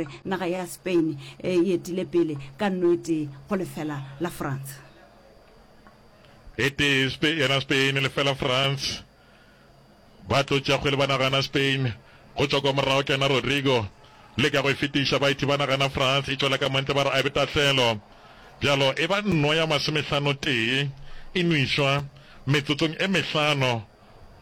gore naga ya Spain e etile pele ka nno e tee go lefela la France. E tee yena Spain, lefela France. Ba tlo tšea kgwele ba nagana Spain. Go tšwa kwa morago ke yena Rodrigo. Leka go e fetiša, ba e thiba nagana France. E tšwela ka montle ba re a e be tahlelo. Bjalo e ba nno ya masomehlano tee e nwišwa metsotsong e mehlano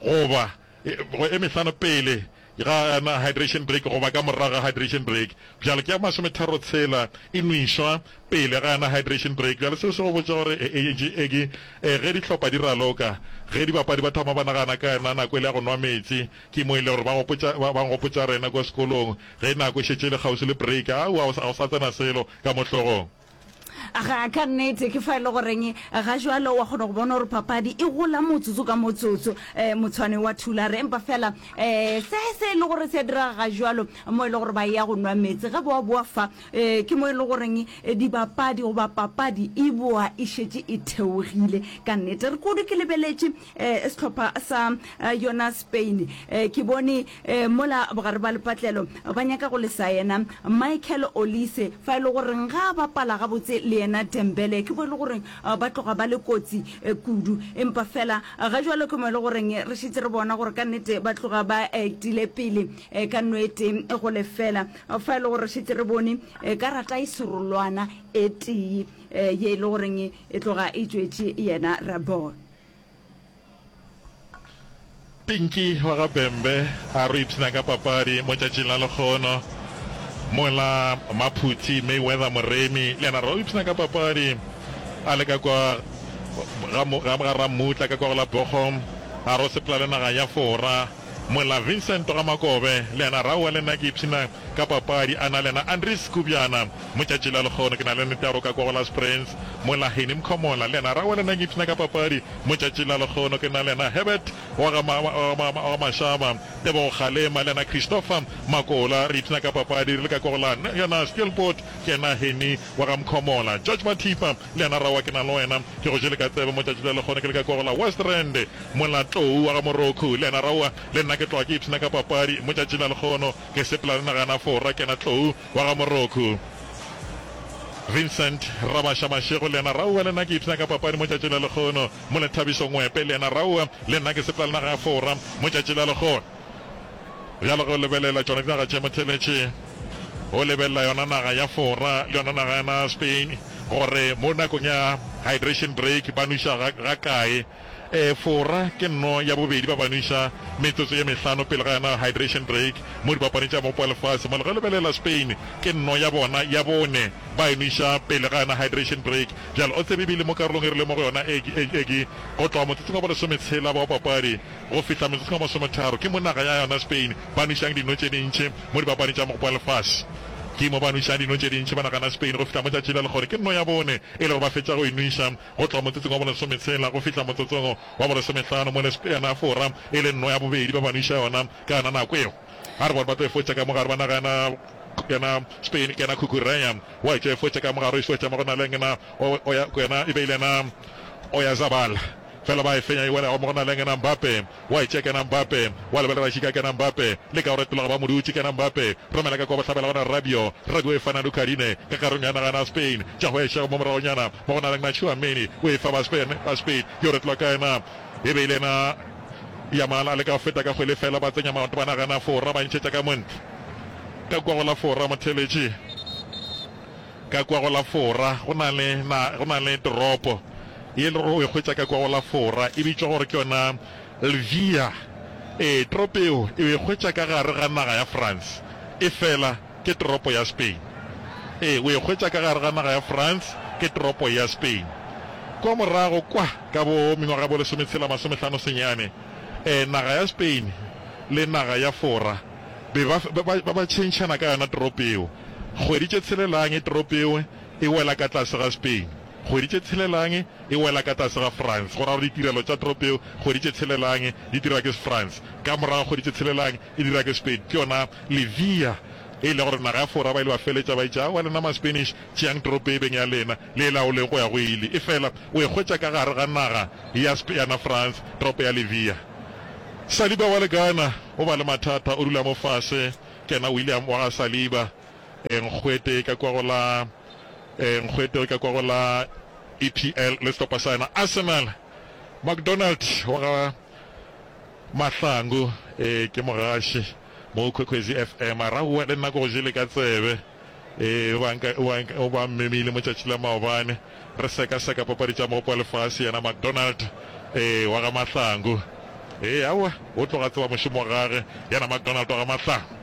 goba e mehlano pele ga yona hydration break goba ka morago ga hydration break. Bjalo ke ya masometharo tshela e nwišwa pele ga yona hydration break. Bjale seo se go botša gore e, ge dihlopha di raloka, ge dibapadi ba thoma ba nagana ka yona nako e le ya go nwa meetse, ke mo e le gore ba gopotša, ba nkgopotša rena kua sekolong ge nako e šetše e le kgauswi le break, aowa, ga o sa tsena selo ka mo hlogong. Ga, ka nnete, ke fa e le goreng ga jwalo wa kgona go bona gore papadi e gola motsotso ka motsotso, um motshwane wa Thulare. Empa fela um se se e le gore se a direga ga jwalo mo e le gore ba ya go nwa meetse, ge boa boa fa, um ke mo e le goreng dibapadi goba papadi e boa e šetše e theogile. Ka nnete, re kudu ke lebeletše um sehlopha sa yona Spain, um ke bone um mola bogare ba lepatlelo ba nyaka go lesa yena Michael Olise, fa e le goreng ga a bapala gabotse le yena Dembele, ke mo e le goreng ba tloga ba le kotsi kudu. Empa fela ga jwalo ke mo e le goreng re šetše re bona gore ka nnete ba tloga ba etile pele ka nno e tee go lefela, fa e le gore re šetše re bone karata e serolwana e tee ye e le goreng e tloga e tšwetše yena Rabon. Pinky wa ga Bembe a re o ipshina ka papadi mo tšatšing la lekgono, mola Maphuthi Mayweather Moremi le yena a re o ipshina ka papadi a le ka kwa ga ga Rammutla ka kwa go la Bochum, a re o sepela le naga ya Fora, mola Vincent ga Makobe le yena a re aowa le nna ke ipshina ka papadi a na le yena Andries Kubjana mo tšatši la lekgono. Ke na le nnete ya gore o ka kwa go la Springs, mola Henny Mkhomola le yena a re aowa le nna ke ipshina ka papadi Mo tšatšing la lekgono ke na le yena Herbert wa ga wa ga Mashaba, Tebogo Kgalema le yena Christopher Makola. Re ipshina ka papadi re le ka kwa go la yona Steelpoort ke yena Henny wa ga Mkhomola. George Mathipa le yena Rawa ke na le wena ke go jele ka tsebe mo tšatši la lekgono ke le ka kwa go la West Rand. Mola Tlou wa ga Morokhu le yena Rawa le nna ke tloga ke ipshina ka papadi mo tšatšing la lekgono ke sepela le naga ya Fora ke yena Tlou wa ga Morokhu. Vincent Rabasha Mashego le yena Raoa le nna ke ipshina ka papadi mo tšatši la lekgono. Mo Lethabiso Ngwepe le yena Raoa le nna ke sepela le naga ya Fora mo tšatši la lekgono. Bjalo ge o lebelela tšona dinaga tše motheletše, o lebelela yona naga ya Fora le yona naga ya Spain gore mo nakong ya hydration break ba nweša ga, ga kae. Ee, Fora ke nno ya bobedi ba ba nweša metsotso ye mehlano pele ga yona hydration break mo dipapading tša Mopo wa Lefase. Mola ge lebelela Spain ke nno ya bona ya bone ba e nweša pele ga yona hydration break. Bjale o tsebe ebile mo karolong e re leng mo go yona e, e, e ke go tloga motsotsong wa bolesometshela wa papadi go fihla metsotsong wa masometharo ke mo naga ya yona Spain ba nwešang dino tše dintši mo dipapading tša Mopo wa Lefase. Ke mo ba nwešang dino tše dintši ba naga na Spain go fihla mo tšatši la lekgono ke nno ya bone e le gore ba fetša go e nweša. Go tloga motsotsong wa bolesometshela go fihla motsotsong wa bolesomehlano mo yona Fora e le nno ya bobedi ba ba nweša yona ka yona nako eo. A re bone ba tlo e fotša ka mogare ba naga yena yena Spain ke yena Cucurella wa e tlo e fotša ka mogare o e fotša mo go na le yena o ya yena e be e le yena Oyarzabal fela ba e fenya e wela mo go na le yena Mbappe Wa e tšea Kena Mbappe, wa lebelela Šika Kena Mbappe, leka go retologa ba mo dutše Kena Mbappe, romela ka kua bohlabela gona Rabiot, Rabiot e fana Lucadine ka karong ya naga na Spain, tša go ešego mo moragonyana mo go na le na Tchouameni o e fa ba Spain, ba Spain yo retolwa ka yena e be e le yena Yamal a leka go feta ka kgwele fela ba tsenya maoto ba naga na Fora ba ntšhetša ka montle ka kua go la Fora motheletši. Ka kua go la Fora go na le na, go na le toropo ye e le gore o e hwetša ka kua go la Fora, e bitšwa gore ke yona Lvier. Ee, toropo yeo o e hwetša ka gare ga naga ya France, efela ke toropo ya Spain. Ee, o e hwetša ka gare ga naga ya France, ke toropo ya Spain. Kua morago kwa ka bo mengwaga ya bo lesometshela masomehlano senyane, ee, naga ya Spain le naga ya Fora be ba, ba, ba, ba tšhentšhana ka yona toropo yeo. Kgwedi tše tshelelang toropo yeo e wela ka tlase ga Spain, kgwedi tše tshelelang e wela ka tlase ga France. Go ra gore ditirelo tša toropo yeo kgwedi tše tshelelang di dirwa ke France, ka morago ga kgwedi tše tshelelang e dirwa ke Spain. Ke yona Levia e le gore naga ya Fora ba ile ba feletša ba itše, Aowa lena ma-Spanish, tšeang toropo e beng ya lena, le e laoleng go ya go ile. Efela o e hwetša ka gare ga naga ya yana France, toropo ya Levia. Saliba wa le Ghana o ba le mathata, o dula mo fase. Ke yena William wa ga Saliba. Nkgwete ka kwa go la Nkgwete ka kwa go la EPL le sehlopha sa yena Arsenal. McDonald wa ga Mahlangu ee ke mogaši mo Kwekwezi FM a ra aowa le nna ke go jele ka tsebe ee o ba nka o ba mmemile mo tšatši la maobane re sekaseka papadi tša mogopo wa lefase yena McDonald ee wa ga Mahlangu ee aowa o tloga tseba mošomo wa gage yena McDonald wa ga Mahlangu.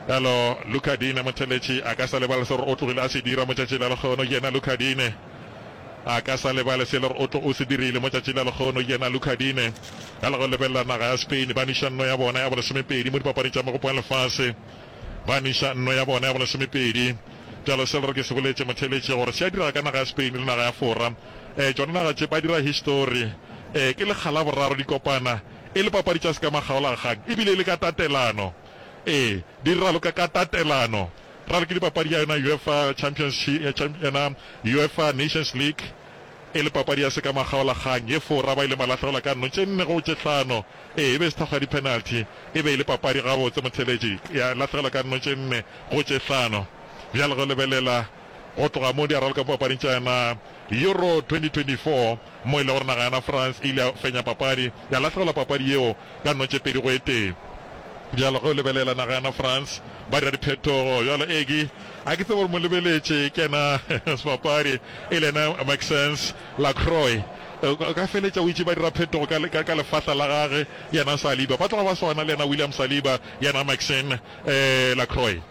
Bjalo Luca Dine motheletši a ka sa lebale se gore o tlogile a se dira mo tšatši la lekgono yena Luca Dine. A ka sa lebale se le gore o tlo o se dirile mo tšatši la lekgono yena Luca Dine. Bjalo go lebelela naga ya Spain ba niša nno ya bona ya bolesomepedi mo dipapading tša mogopo wa lefase. Ba niša nno ya bona ya bolesomepedi. Bjalo se le gore ke se boletše motheletši gore se a direga ka naga ya Spain le naga ya Fora. Ee tšona naga tše ba dira histori. Ee ke lekga la boraro di kopana e le papadi tša sekamakgaolakgang ebile e le ka tatelano. Ee, di raloka ka tatelano. Raloke dipapadi ya yona UEFA Champions yona UEFA Nations League e le papadi ya sekamakgaolakgang ye Fora ba ile ba lahlegelwa ka nno tše nne go tše hlano. Ee, e be e se thakgo ya di-penalty, e be e le papadi gabotse motheeletši, ya lahlegelwa ka nno tše nne go tše hlano. Bjale ge o lebelela go tloga mo di a raloka mo papading tša yona Euro 2024 mo e le gore naga yana France e ile ya fenya papadi, ya lahlegelwa papadi yeo ka nno tše pedi go e tee. Bjalo ge o lebelela naga yana France ba dira diphetogo bjalo Egi a ke tsebe gore mo lebeletše ke yena sebapadi e le yena Maxence Lacroix o ka feletša o itše ba dira phetogo ka, ka, ka lefahla la gage yena Saliba ba tloga ba swana le yena William Saliba yena Maxence eh, Lacroix.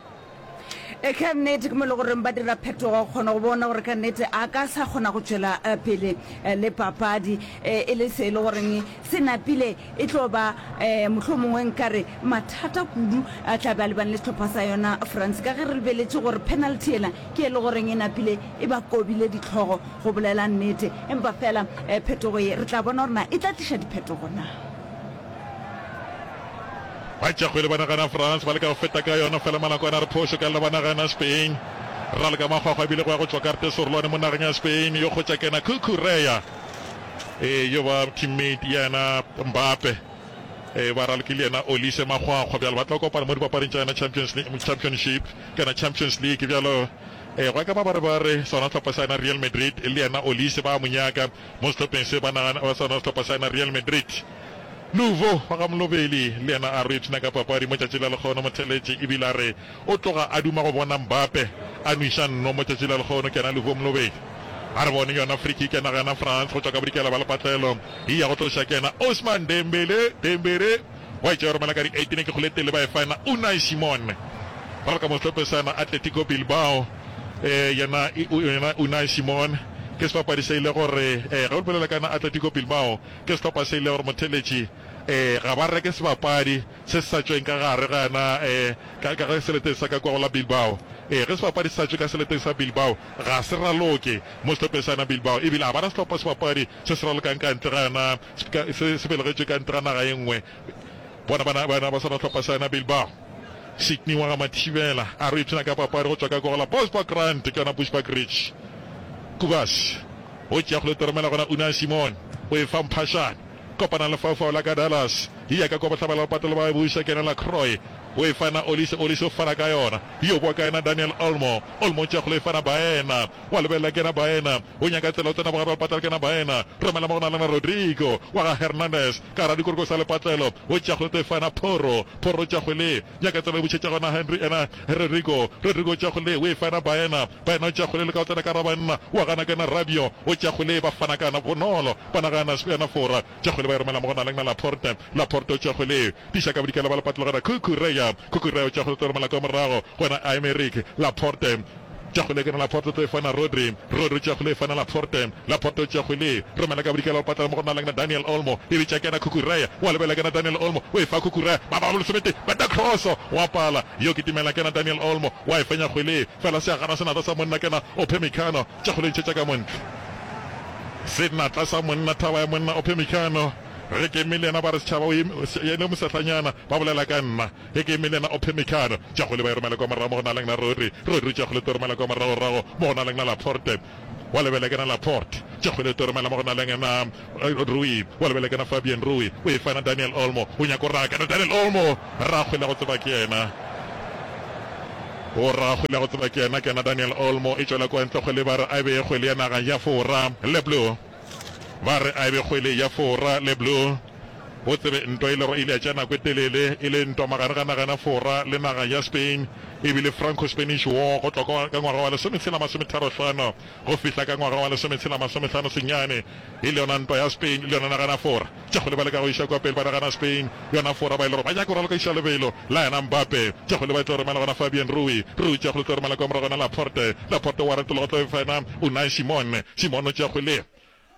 E, ka nnete ke mo e le goreng ba dira phetogo go kgona go bona gore ka nnete a ka sa kgona go tšwela eh, pele eh, le papadi eh, e le se e le goreng se napile e tlo ba eh, mohlomongwe nkare mathata kudu a tla be a lebane le sehlopha sa yona France ka ge re lebeletše gore penalty ela ke e le goreng e napile e ba kobile ditlhogo go bolela nnete empa fela eh, phetogo ye re tla bona gore na e tla tliša diphetogo na. Ba tšea kgwele ba nagana France ba leka go feta ka yona fela Malakwane a re phošo ka lla ba nagana Spain. Raloka makgwakgwa ebile go ya go tšwa karte serolwane mo nageng ya Spain yo kgotša kena Cucurella ee yo ba teammate yena Mbappe ee ba ralokile yena Olise makgwakgwa bjalo ba tla kopana mo dipapading tša yona Champions League Championship kana Champions League bjalo ee go ya ka mabarebare sona sehlopha sa yena Real Madrid le yena Olise ba mo nyaka mo sehlopheng se ba nagana ba sona sehlopha sa yena Real Madrid. Luvo wa ga Molobeli le yena a re o ipshina ka papadi mo tšatši la lekgono motheletši ebile a re o tloga a duma go bona Mbappe a nwiša nno mo tšatši la lekgono ke yena Luvo Molobeli. A re bone yona free kick ya naga yana France go tšwa ka bodikela ba lepatlelo e ya go tloša ke yena Ousmane Dembele Dembele wa e tšea romela ka di 18 ke kgole tele ba e fa yena Unai Simon ba re ka mo sehlopheng sa yena Atletico Bilbao eh yena yena Unai Simon ke sebapadi se ile gore eh ge o bolela ka yena Atletico Bilbao Ke sehlopha se ile gore motheeletši eh ga ba reke sebapadi se se sa tšweng ka gare ga yona eh ka ka ga seleteng sa ka kua go la Bilbao. Eh ge sebapadi se sa tšwe ka seleteng sa Bilbao ga se raloke mo sehlopheng sa yona Bilbao ebile ga ba na sehlopha sebapadi se se ralokang ka ntle ga yona se se belegetšwe ka ntle ga naga ye nngwe. Bona bana bana ba sona sehlopha sa yona Bilbao. Sydney wa ga Mathibela a re o ipshina ka papadi go tšwa ka kua go la Bosbok Rand ke yona Bushbuckridge. Kubas. O tšea go letoromela gona Unai Simon o e fa Mphashane. Kopana lefaufau la ka Dallas. E ya ka kwa bohlabela ba patelo ba e buša ke yena Lacroix. O e fa yena Olise, Olise o fana ka yona. Yo boa ka yena Daniel Olmo. Olmo o tšea kgole e fana Baena. Wa lebelela ke yena Baena. O nyaka tsela o tsena bogare ba lepatlelo ke yena Baena. Romela mo go na le yena Rodrigo wa ga Hernandez. Ka gara dikoroko sa lepatlelo. O tšea kgole o tlo e fa yena Porro. Porro o tšea kgwele. Nyaka tsela e bušetša gona Henry yena Rodrigo. Rodrigo o tšea kgole o e fa yena Baena. Baena o tšea kgwele le ka o tsena ka ra banna. Wa gana ke yena Rabiot. O tšea kgwele ba fana ka yona bonolo. Ba nagana yena Fora. Tšea kgwele ba e romela mo go na leng na Laporte. Laporte o tšea kgwele. Tiša ka bodikela ba lepatlelo gona Cucurella. Cucurella o tšea kgwele o tlo romela kwa morago go yena Aymeric Laporte. Tšea kgwele ke yena Laporte o tlo e fana Rodri. Rodri o tšea kgwele e fana Laporte. Laporte o tšea kgwele. Romela ka bodikela ba lepatlelo mo go na leng na Daniel Olmo. E bitša ke yena Cucurella. Wa lebelela ke yena Daniel Olmo. O e fa Cucurella. Ba ba lesomete. Beta cross. Wa pala. Yo kitimela ke yena Daniel Olmo. Wa e fenya kgwele. Fela se a gana senatla sa monna ke yena Upamecano. Tša kgwele ntšhetša ka montle. Senatla sa monna, thaba ya monna Upamecano. Ge ke eme le yena ba re setšhaba o eme, yena o mosehlanyana, ba bolela ka nna. Ge ke eme le yena Upamecano. Tša kgwele ba e romela kwa morago mo go na leng na Rodri. Rodri tša kgwele tlo romela kwa moragorago mo go na leng na Laporte. Wa lebela ke na Laporte. Tša kgwele tlo romela mo go na leng na Rui. Wa lebela ke na Fabian Rui. O e fa na Daniel Olmo. O nyaka go raka na Daniel Olmo. Rakgwele go tseba ke yena. O ra kgwele ya go tseba ke yena, ke yena Daniel Olmo, e tšwela kwa ntle kgwele ba re a e be kgwele ya naga ya Fora. Le Bleu ba re a e be kgwele ya Fora. Le Bleu o tsebe ntwa e le gore e ile ya tšea nako e telele e le ntwa magare ga naga ya Fora le naga ya Spain, e bile Franco-Spanish War go tloga ka ngwaga wa lesometshela masometharohlano go fihla ka ngwaga wa lesometshela masomehlano senyane, e le yona ntwa ya Spain le yona naga ya Fora. Tša kgole ba leka go iša kua pele ba nagana Spain, yona Fora ba e le gore ba nyaka go raloka iša lebelo la yena Mbappe. Tša kgole ba tlo romela gona Fabian Rui, Rui tša kgole tlo romela kua morago gona Laporte, Laporte wa retologa tlo efa yena Unai Simon, Simon o tšea kgwele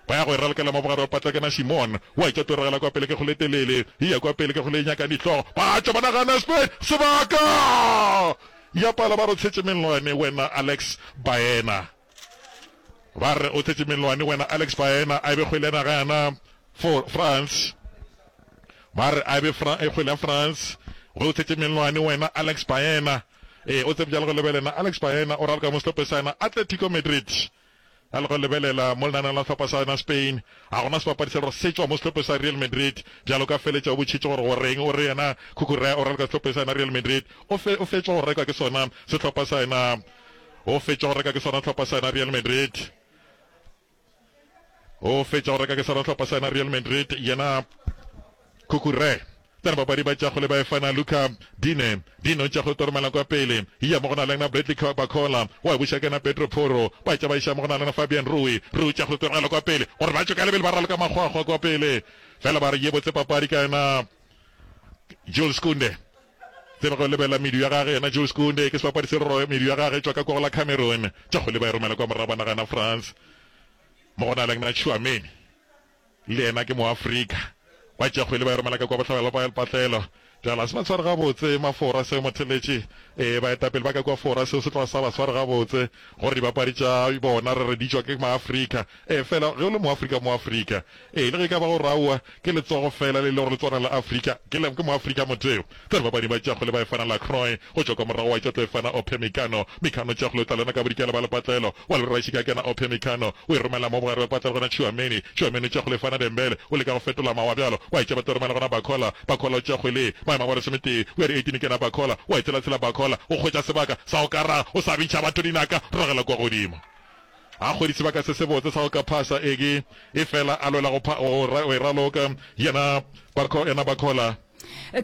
ba ya go e ralokela mo bogare ba patla kena Simon wa etša tlo ragela kua pele ke kgole telele e ya kua pele ke kgole e nyakang dihlogo ba tšwa ba nagana Spain sebaka ya pala ba re o tshetše mellwane wena Alex Baena. Ba re o thetše mellwane wena Alex Baena a e be kgwele ya naga yana for France. Ba re a e be Fra e kgwele ya France. Ge o thetše mellwane wena Alex Baena. Ee, o tsebe bjalo go lebelela Alex Baena o raloka mo sehlopheng sa yena Atletico Madrid. A le go lebelela mo lenaneong la sehlopha sa yona Spain, ga gona sebapadi se le gore se tšwa mo sehlopheng sa Real Madrid. Bjalo ka feletša o botšhitše gore go reng o re yena Cucurella o raloka sehlopheng sa yena Real Madrid. O fe o fetšwa go rekwa ke sona sehlopha sa yena O fetša go reka ke sona hlopha sa yena Real Madrid. O fetša go reka ke sona hlopha sa yena Real Madrid. Yena Cucurella. Tsena papadi ba tšago le ba efana Luca Dine. Dine o tšago toromela kwa pele. Ya mo go na le yena Bradley Barcola. Wa buša ke yena Pedro Porro. Ba tša ba iša mo go na le yena Fabian Rui. Rui tšago toromela kwa pele. Gore ba tšwe ka lebelo ba raloka makgwakgwa kwa pele. Fela ba re ye botse papadi ka yena Jules Kounde. Tseba go lebelela medu ya gage, yena Jules Kounde ke sebapadi se roro, medu ya gage e tšwa ka kwa go la Cameroon. Tša kgwele ba e romela kwa morago ba nagana France. Mo go na le na Tchouameni, le yena ke Moafrika. Ba tšea kgwele ba e romela ka kwa bohlabela ba lepatlelo. Bjale ga se ba tshware gabotse Mafora seo motheletši. Ee, baetapele ba ka kwa Fora seo se tloga sa ba sware gabotse gore dibapadi tša bona re re di tšwa ke Maafrika. Ee, fela ge o le Moafrika, Moafrika. Ee, le ge e ka ba gore aowa, ke letsogo feela le e le gore le tswana la Afrika, ke le, ke Moafrika motho. Tsena bapadi ba tšago le ba efana Lacroix, go tšwa kwa morago wa etša tlo efana Ophe Mikano, Mikano tšago le tla lena ka bodikela ba lepatlelo, wa le Rašika kena Ophe Mikano, o e romela mo bogare ba patlelo gona Tchouameni, Tchouameni tšago le efana Dembele, o leka go fetola mawa bjalo, wa etša ba tlo romela gona Barcola, Barcola o tšago le maemo a bo lesometee, o ya di 18 kena Barcola, wa e tshelatshela Barcola, o hwetša sebaka sa go ka raga, o sa bitša batho dinaka, ragela kwa godimo. A hwedi sebaka se sebotse sa go ka phasa eke, efela a lwela go, go, go e raloka. Yena Barco, yena Barcola.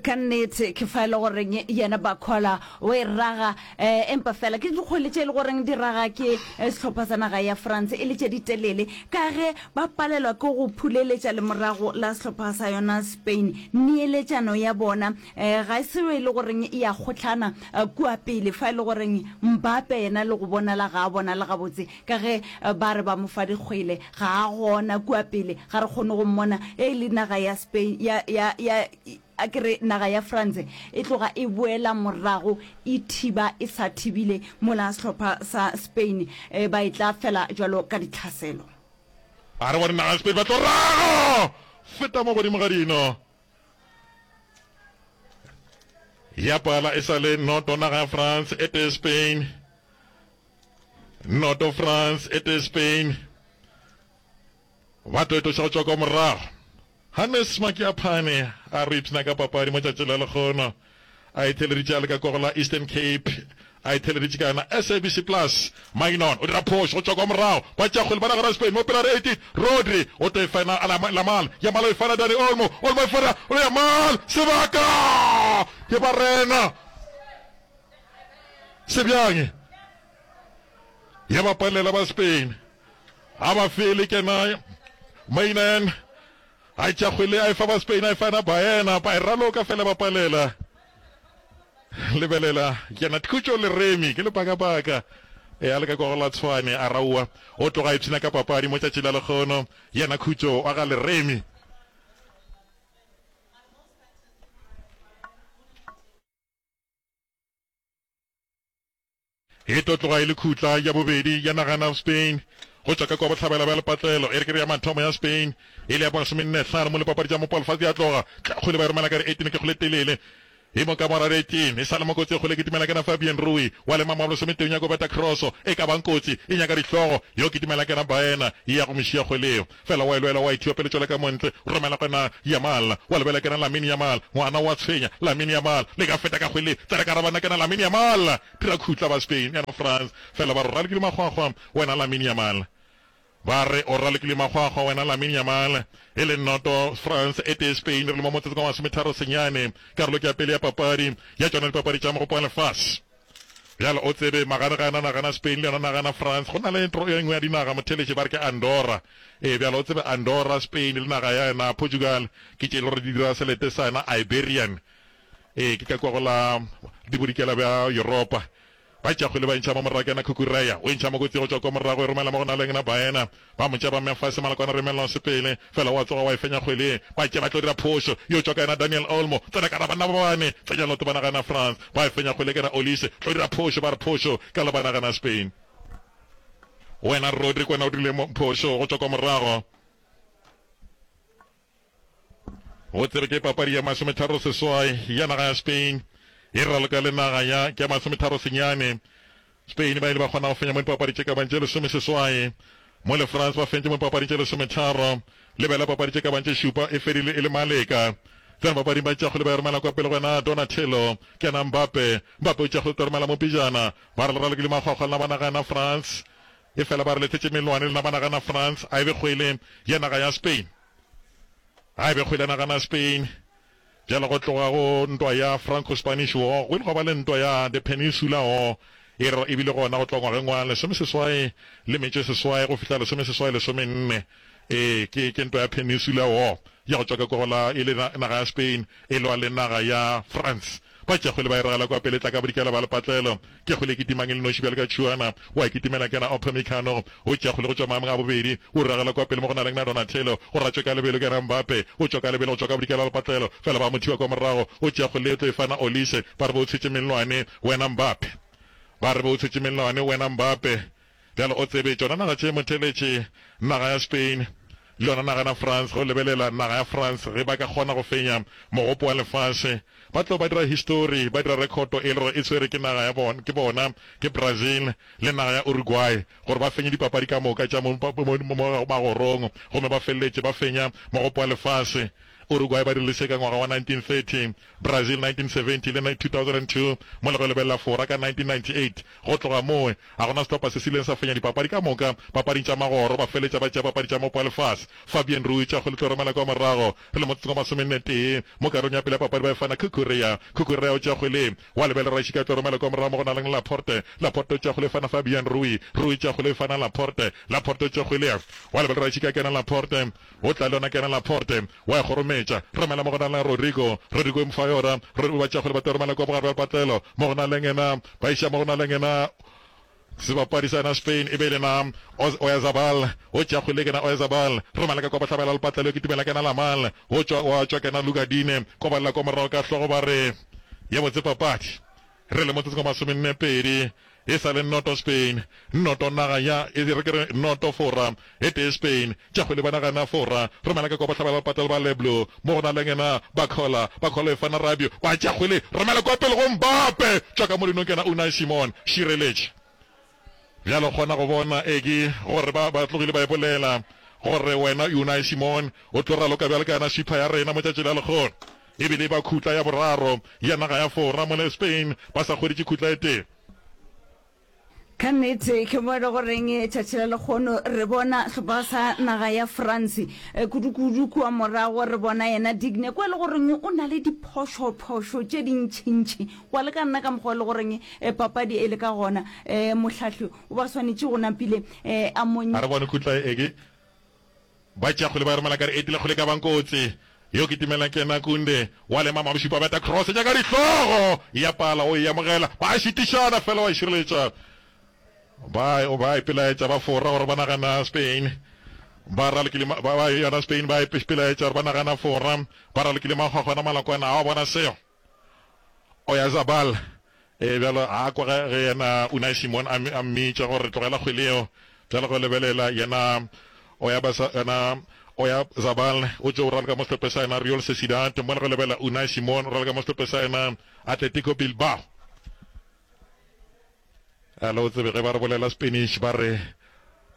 Ka nnete, ke fa e le goreng yena Barcola o e raga, eh, empa fela ke dikgwele tše e le goreng di raga ke sehlopha sa naga ya France e le tše di telele, ka ge ba palelwa ke go phuleletša lemorago la sehlopha sa yona Spain. Neeletšano ya bona eh, ga e se e le goreng e a kgohlana eh, kua pele, fa e le goreng Mbappe yena le go bonala ga a bonale gabotse, ka ge eh, ba re ba mo fa dikgwele, ga a gona kua pele, ga re kgone go mmona. E le naga ya Spain, ya, ya, ya, a ke re naga ya France e tloga e boela morago e thiba e sa thibile, mola sehlopha sa Spain eh, ba e tla fela jwalo ka ditlhaselo. A re bone naga ya Spain ba tlo raga feta mo godimo ga dino. Ya pala e sa le noto naga ya France e tee Spain. Noto France e tee Spain. Ba tlo etoša go tšwa kwa morago. Hannes Makiaphane a re ipshina ka papadi mo tšatši la lekgono. A itheleditše a le ka kwa go la Eastern Cape. A itheleditše ka yona SABC Plus. Mainon o dira phošo go tšwa kwa morago. Ba tšea kgwele ba nagana Spain mo pela re 18. Rodri o tlo e fena a Yamal. Yamal o e fana Dani Olmo. Olmo e fana o Yamal. Sebaka! Ke barena. Se bjang? Ya ba palela ba Spain. A ba fele kena Mainon. A tšea kgwele a e fa ba Spain a e fana Baena. Ba e raloka fela ba palela. Lebelela, yena Khutšo Leremi ke lepakapaka e a le ka kwa go la Tshwane a raowa o tloga a ipshina ka papadi mo tšatši la lekgono. Yena Khutšo wa ga Leremi. E tlo tloga e le khutla ya bobedi ya nagana Spain go tšwa ka kwa bohlabela bja lepatlelo. E re ke re ya mathomo ya Spain e le ya bomasomennehlano mo lipapadi tša mopalofase ya tloga kgwele ba e romela ka re 18 ke kgwele telele. E mo ka mora 18, e sa le mo kotsi e kgolo e kitimela kena Fabian Rui wa lema mo lesometee o nyaka go beta kroso e ka bang kotsi e nyaka dihlogo yo kitimela kena Baena e ya go mo šia kgwele yeo fela wa e lwela wa e thiba pele tšwela ka montle romela gona Yamal wa lebela kena Lamine Yamal ngwana wa tshwenya Lamine Yamal le ka feta ka kgwele tsena ka rabana kena Lamine Yamal dira khutla ba Spain yana France fela ba re ralokile makgwakgwa wena Lamine Yamal Ba re o ralokile makgwakgwa wena Lamine Yamal. E le noto France e tee Spain re le mo motsotsong wa masometharo senyane. Karolo ke ya pele ya papadi ya tšona dipapadi tša Mogopo wa Lefase. Bjale o tsebe maganegana nagana Spain le yona nagana France. Go na le ntro e nngwe ya dinaga motheletši ba re ke Andorra. Ee bjale o tsebe Andorra, Spain le naga ya yona Portugal ke tše e le gore di dira selete sa yona Iberian. Ee ke ka kua go la dibodikela bja Yuropa. Ba tšea kgwele ba e ntšha mo morago, ke yena Cucurella o e ntšha mo kotsi go tšwa kua morago, e romela mo go naleng na Baena. Ba mo tšea ba mmea fase, Malakwana re emelela sepele, fela o a tsoga wa e fenya kgwele ye. Ba tšea ba tlo dira phošo, yo tšwa ka yena Daniel Olmo, tsena ka ra banna ba bane, tsenya leoto ba nagana France. Ba e fenya kgwele ke yena Olise, tlo dira phošo, ba re phošo ka la ba nagana Spain. Wena Rodri ke wena o dirile phošo go tšwa kua morago. Go tsebe ke papadi ya masometharo seswai ya naga ya Spain e raloka le naga ya ke ya masometharo senyane. Spain ba ile ba kgona go fenya mo dipapadi tše ka bang tše lesomeseswai, mo le France ba fentše mo dipapading tše lesometharo. Lebela papadi tše ka bang tše šupa e fedile e le maleka. Tsena papading ba tšea kgwele ba e romela kwa pele go yena Donatello, ke yena Mbappe. Mbappe o tšea kgwele o tlo romela mo pejana. Ba re le ralokile makgwakgwa lena ba naga yena France. Efela ba re lethetše melwane lena ba nagana France a e be kgwele ya naga ya Spain. A e be kgwele ya nagana Spain. Bjale go tloga go ntwa ya Franco-Spanish War go ile gwa ba le ntwa ya The Peninsula War e re e bile gona go tloga ngwageng wa lesomeseswai le metšo e seswai go fihla lesomeseswai lesomenne. Ee, ke, ke ntwa ya Peninsula War ya go tšwa ka kwa go la e le naga ya Spain e lwa le naga ya France. Ba tšea kgwele ba e ragela kwa pele, tla ka bodikela ba lepatlelo. Ke kgwele e kitimang e le noši bjalo ka tšhuana. Wa e kitimela ke yena Upamecano. O tšea kgwele go tšwa maemong a bobedi. O ragela kwa pele mo go na leng na Donatello. O ratšwe ka lebelo ke yena Mbappe. O tšwa ka lebelo go tšwa ka bodikela ba lepatlelo. Fela ba mo thiba kwa morago. O tšea kgwele o tlo e fana Olise. Ba re be o tshetše mellwane wena Mbappe. Ba re be o tshetše mellwane wena Mbappe. Bjale o tsebe, tšona naga tše motheletše, naga ya Spain le yona naga na France, ge o lebelela naga ya France, ge ba ka kgona go fenya mogopo wa lefase, ba tlo ba dira histori, ba dira rekhoto e le gore e tshwere ke naga ya bona, ke bona, ke Brazil le naga ya Uruguay, gore ba fenye dipapadi ka moka tša mo, mo, mo magorong, gomme ba feleletše ba fenya mogopo wa lefase. Uruguay ba dirile se ka ngwaga wa 1930, Brazil 1970 le 2002, mola go lebelela Fora ka 1998. Go tloga moo, ga go na sehlopha se se ileng sa fenya dipapadi ka moka papading tša magoro, ba feletša ba tšea papadi tša mopo wa lefase. Fabian Ruiz tša kgwele tlo romela kwa morago re le motsotsong wa masomenne-tee mo karolong ya pele ya papadi ba e fana Cucurella. Cucurella o tšea kgwele, wa lebelela Rashika tlo romela kwa morago mo go na leng Laporte. Laporte o tšea kgwele e fana Fabian Ruiz. Ruiz tšea kgwele e fana Laporte. Laporte o tšea kgwele, wa lebelela Rashika kena Laporte. O tla le yona kena Laporte, wa e kgorometša. Romela mo go na le Rodrigo. Rodrigo e mo fa yona. Rodrigo ba tšea kgwele ba tlo romela kua bogare bja lepatlelo. Mo go na le yena, ba iša mo go na le yena sebapadi sa yena Spain e be e le na Oyarzabal. O tšea kgwele kena Oyarzabal. Romela ka kua bohlabela lepatlelo, kitimela kena Lamal. O tšwa, wa tšwa kena Luka Digne. Kobalela kua morago ka hlogo ba re ye botse papadi. Re le motsotsong wa masomenne-pedi, e sa le noto Spain, noto naga ya, e re ke re noto Fora, e tee Spain, tša kgwele ba nagana Fora, romela ka kwa bohlabela ba patelo ba Le Bleu, mo go na le ngena Barcola, Barcola e fana Rabiot, ba tša kgwele, romela kwa pele go Mbappe, tšwa ka mo dinong kena Unai Simon, šireletše. Bjale o kgona go bona, Egi, gore ba, ba tlogile ba e bolela, gore wena Unai Simon o tlo raloka bjalo ka yena sweeper ya rena mo tšatši la lekgono. E bile e ba khutla ya boraro ya naga ya Fora mola Spain ba sa hweditše khutla e tee. Ka nnete ke mo e le goreng tšatši la lekgono re bona sehlopha sa naga ya France kudu-kudu kua morago re bona yena Digne kwa e le goreng o na le diphošo-phošo tše dintšintši wa le ka nna ka mokgwa e le goreng papadi e le ka gona mohlahli o ba swanetše go napile a mo A re bone khutla e ke Ba tšea kgwele ba e romela ka re etile kgwele ka bang kotsi. Yo kitimela ke yena Kunde wa lema Mabošupa beta cross nyaka dihlogo ya pala o e amogela ba šitišana fela wa e šireletša. Ba ba ipelaetša ba Fora gore ba nagana Spain ba ralokile ba ba yona Spain ba ipelaetša gore ba nagana Fora ba ralokile makgwakgwana malakwana a wa bona seo. Oyarzabal e bjalo a kwa ge ge yena Unai Simon a a mmitša gore tlogela kgwele yeo. Bjalo go lebelela yena Oyabasa yena Oyarzabal o tšo raloka mo sehlopheng sa yena Real Sociedad, mola go lebelela Unai Simon o raloka mo sehlopheng sa yena Atletico Bilbao. Alo o tsebe ge ba re bolela Spanish ba re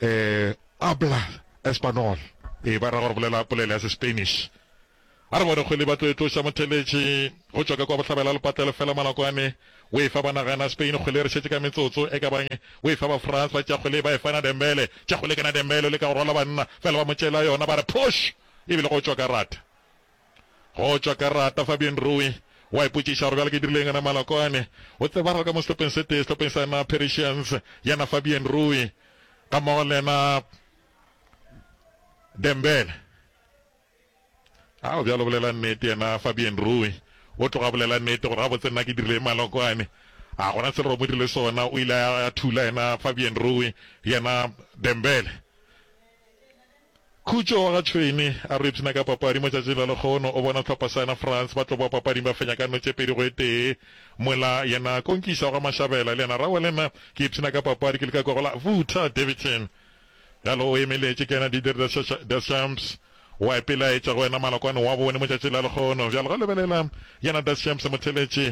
eh habla español. Ee ba ra gore bolela polelo ya se-Spanish. A re bone kgwele ba tlo e tloša motheletši go tšwa ka kwa bohlabela lepatlelo fela Malakwane o e fa ba naga na Spain kgwele re šetše ka metsotso e ka bang o e fa ba France ba tšea kgwele ba e fa na Dembele tšea kgwele ke na Dembele o leka go rwala banna fela ba mo tšeela yona ba re push ebile go tšwa ka rata go tšwa ka rata Fabien Rui wa ipotšiša gore bjale ke dirile eng na Malakwane o tsebagala ka mo sehlopheng se tee sehlopheng sa na Parisians yena Fabien Rui ga mmogo le yena Dembele A o bjalo bolela nnete yena Fabian Rui o tloga a bolela nnete gore gabotse nna ke dirile malokwane. A gona se re mo dirile sona o ile a thula yena Fabian Rui yena Dembele. Khutšo wa ga Tšhwene a re ipshina ka papadi mo tšatšing la lekgono o bona sehlopha sa yena France ba tlo boa papading ba fenya ka no tše pedi go e tee mola yena Konkisa wa ga Mashabela le yena Rawa le nna ke ipshina ka papadi ke le ka kwa go la Vutha Daveyton Bjalo o emeletše ke yena Didier Deschamps, o a ipelaetša go wena malokwane wa bone mo tšatšing la lekgono. Bjalo ge o lebelela yena Deschamps motheletši.